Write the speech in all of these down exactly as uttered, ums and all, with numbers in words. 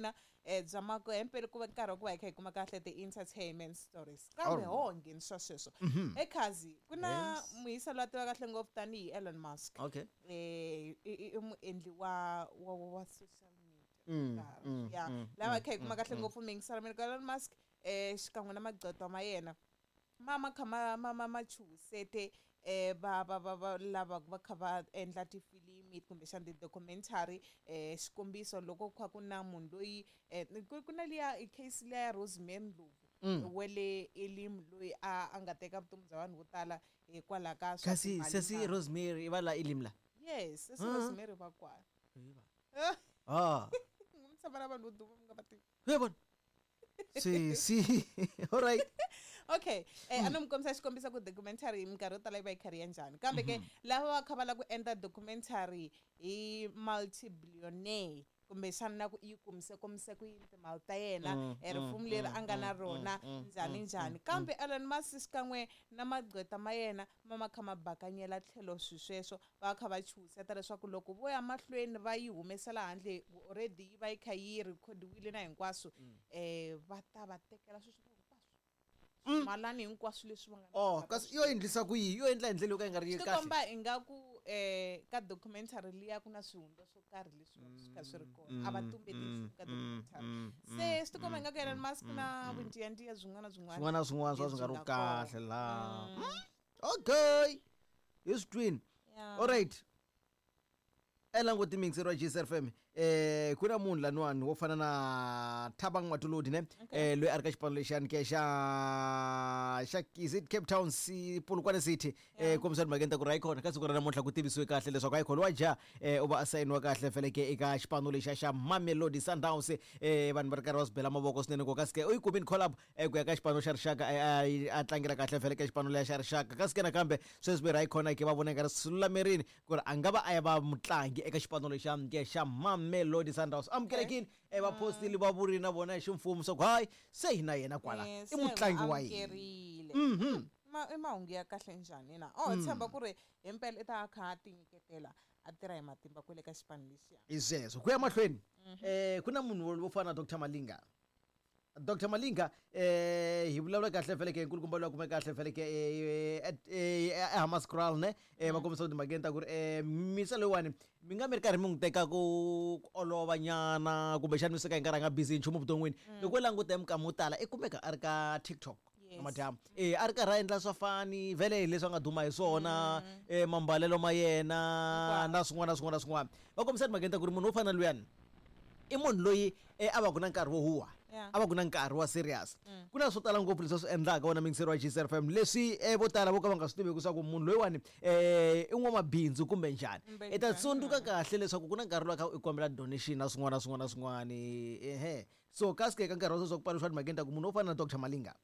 n'wina eh bya makwempe ku va nkarhi wa ku va hi kha hi kuma kahle ti-entertainment stories kambe ho nghenisa sweswo ekhazi ku na muhisa loyi a tiva kahle ngopfu tanihi Elon Musk. Okay. eh i muendli wa wa wa social media. Mm, mm, ya mm, lava kha hi kuma kahle ngopfu mingisela mina Elon Musk eh xikan'we na magqwetha ma yena ma ma kha ma ma ma ma chuhisete eh va va va va lava va kha va endla tifilimi kumbexana ti-documentary eh xikombiso loko kha ku na munhu loyi eh ku ku na liya case liya ya Rosemary Ndlovu wele Elim loyi a a nga teka vutomi bya vanhu vo tala hikwalaho ka swa Kasi timali sesi na- Rosemary i va la Elim la. Yes, sesi Rosemary va kwala. Ah. Mi tshama na vanhu vo duma mi nga va tivi. He bona. Si si. All right. Okay, eh a no mi kombisa xikombiso ku documentary minkarhi yo tala yi va yi kha ri ya njhani kambe ke lava va kha va lava ku endla documentary hi multi-billionaire kumbexana na ku yi kumise komise ku yini timali ta yena eh, rifumo leri a nga na rona njhani njhani kambe Elon Musk xikan'we na magqwetha ma yena ma ma kha ma bakanyela tlhelo swi sweswo va kha va chuhiseta leswaku loko vo ya mahlweni va yi humesela handle already yi va yi kha yi rhekhodiwile na hinkwaswo eh va ta va tekela swilo hinkwaswo swimalani hinkwaswo leswi va nga na Oh, swona. kasi yo endlisa ku yi yo endla hi ndlela yo ka yi nga ri Swi kahle. komba ingaku eh ka documentary liya ku na swihundla swo karhi leswi va swi kha swi ri kona a va tumbeti nchumu ka documentary se swi tikomba ingaku Elon Musk na vuntiyantiya byin'wana na byin'wana Swin'wana na swin'wana swa swi nga ri lebyi nga kona. kahle la. Okay. Hi swi twini. Yeah. All right. Elango timixero wa G S F M eh ku na munhu laniwani wo fana na Thabang Matuludi ne eh loyi a ri ka xipano lexiyani ke xa xa is it Cape Town si Polokwane City eh kombisa timhakeni ta ku ri hayi khona ka siku ra namuntlha ku tivisiwe kahle leswaku hayi khona wa ja eh u va a sayiniwa kahle fele ke eka xipano lexiya xa Mamelodi Sundowns eh vanhu va ri karhi va swi bela mavoko swinene ku kasi ke u yi kumini call up eh ku ya ka xipano xa rixaka eh, a a tlangela kahle fele ka xipano leya xa rixaka kasi ke nakambe sweswi ve ri hayi khona ke va vona nga ri swi lulamerini ku ri a nga va a ya va mutlangi eka xipano lexiya ke xa Mamelodi Sundowns amukelekile eh va postile va vurile na vona hi ximfumo swa ku hayi se hi na yena kwala Eh, i se mutlangi wa hina. amukerile. Ma i mahungu ya kahle njhani na oh tshemba ku ri himpela i ta a kha a tinyiketela a tirha hi matimba kwele ka xipano lexiya. Hi sweswo ku ya mahlweni eh ku na munhu wo fana na Doctor Malinga. Doctor Malinga eh hi vulavula kahle vhele ke nkulukumba loyi a kumeka kahle vhele ke eh eh Hammanskraal ne eh va kombisa timhakeni ta ku ri eh misa loyiwani mi nga mi ri karhi mi n'wi teka ku olova nyana kumbexana mi suka hi nkarhi a nga busy hi nchumu vuton'wini loko u languta hi minkama yo tala i kumeka a ri ka TikTok Yes. madamu eh a ri karhi a endla swa fani vhele hi leswi a nga duma hi swona eh mambalelo ma yena na swin'wana na swin'wana na swin'wana va kombisa timhakeni ta ku ri munhu wo fana na luyani i munhu loyi eh, a va ku na nkarhi wo huwa Yeah. a va ku na nkarhi wa serious ku na swo tala ngopfu leswi a swi endlaka wona mingiseri wa G S F M leswi eh, vo tala vo ka va nga swi tiveki leswaku munhu loyiwani eh, i n'wamabindzu kumbe njhani Kumbe i ta njhani. tsundzuka kahle leswaku ku na nkarhi lowu a kha u kombela donation na swin'wana na swin'wana na swin'wana ehe so kasi ke ka nkarhi wa sweswi wa ku paluxa timhakeni ta ku munhu wo fana na Doctor Malinga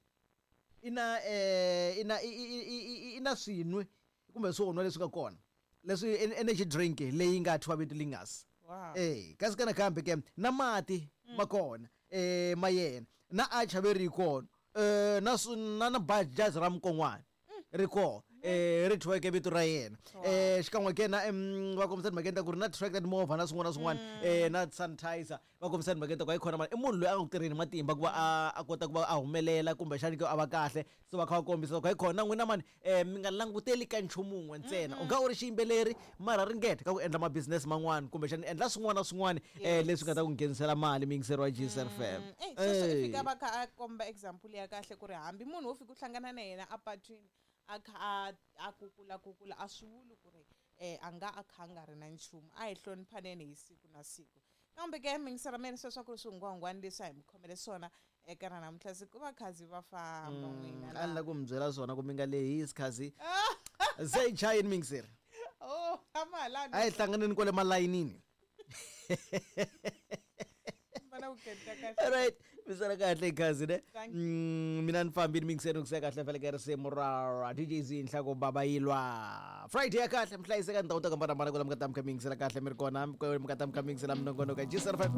i na eh, i na i- i- i- i- i na swinwe kumbe swo nwa leswi nga kona leswi en- energy drink leyi nga thyiwa vito Lingas. Wow. Eh kasi kana kambe ke na mati ma kona eh ma yena na a chaveri kona eh na swi- na na bajazi ra mukon'wana ri kona eh ri thyiweke vito ra yena eh xikan'we ke na em, va kombisa timhakeni ta ku ri na tractor timovha na swin'wana na swin'wana eh na sanitizer va kombisa timhakeni ta ku hayi khona mani i munhu loyi a nga ku tirheni matimba ku va a a kota ku va a humelela kumbexani ke a va kahle se va kha va kombisa ku hayi khona na n'wina mani eh mi nga languteli ka nchumu wun'we ntsena u nga u ri xiyimbeleri mara ringeta ka ku endla ma-business man'wana kumbexani endla swin'wana na swin'wana eh leswi nga ta ku nghenisela mali miyingiseri wa G S F M. Eh, sweswo i fika va kha a komba example ya kahle ku ri hambi munhu wo fika u hlangana na yena apatwini a kha a a kukula kukula a swi vuli ku ri eh a nga a kha a nga ri na nchumu a hi hloniphaneni hi siku na siku kambe ke mingisela mina sweswo ku ri swihungwahungwani leswi a hi mi khomele swona eka ra namuntlha siku va khazi va famba n'wina a ni la ku mi byela swona ku mi nga lehisi khazi se yi chayini mingiseri oh a ma ha lavi a hi hlanganeni kwale malayinini. vana ku kenta kahle. Alright, misala kahle khazi ne. Thank Mm, mina ni fambile mingiseni ku kahle vhele ke risimu ra D J Z Nhlako Baba Yilwa. Friday ya kahle mhlayiseka ndhawu ta hambana hambana kwala mi nga ta mi kha mi yingisela kahle mi ri kona mi nga ta mi kha mi yingisela minongonoko ya G S F M.